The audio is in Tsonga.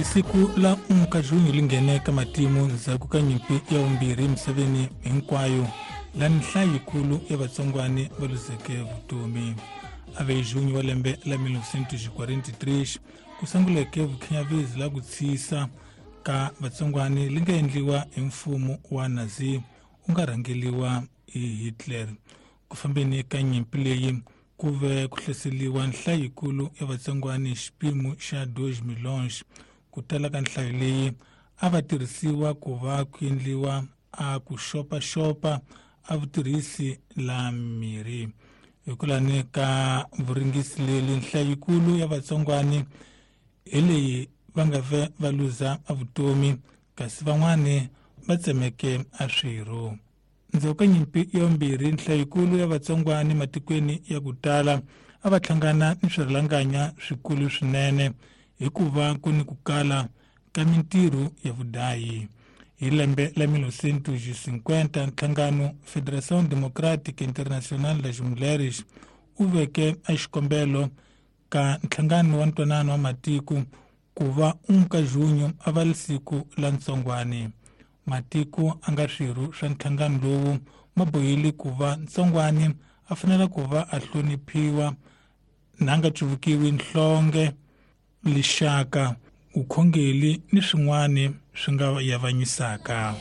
Siku la 1 ka Junho li nghene ka matimu ndzhaku ka nyimpi ya vumbirhi emisaveni hinkwayo la nhlayo yikulu ya vatsongwani va luzeke vutomi. A ve hi Junho wa lembe la 1943 ku sunguleke vukhinyavezi la ku tshisa ka vatsongwani li nga endliwa hi mfumo wa Nazi u nga rhangeliwa hi Hitler. Ku fambeni ka nyimpi leyi ku ve ku hlaseriwa nhlayo yikulu ya vatsongwani hi xipimo xa 2 milhões. Ku tala ka nhlayo leyi a va tirhisiwa ku va ku endliwa a ku xopaxopa a vutirhisi la mirhi. Hikwalani ka vuringisi leli nhlayo yikulu ya vatsongwani hi leyi va nga ve va luza a vutomi kasi van'wani va tsemeke a swirho. Ndzhaku ka nyimpi ya vumbirhi nhlayo yikulu ya vatsongwani matikweni ya ku tala a va hlangana ni swirhalanganya swikulu swinene hikuva ku ni ku kala ka mintirho ya vudayi. Hi lembe la 1950 nhlangano Federação Democrática Internacional das Mulheres u veke a xikombelo ka nhlangano wa ntwanano wa matiko ku va 1 ka Junho a va siku la ntsongwani. Matiko a nga swirho swa nhlangano lowu ma bohile ku va ntsongwani a fanele ku va a hloniphiwa na nga cuvukiwi nhlonge, lixaka, vukhongeli ni swin'wana swi nga yavanyisaka.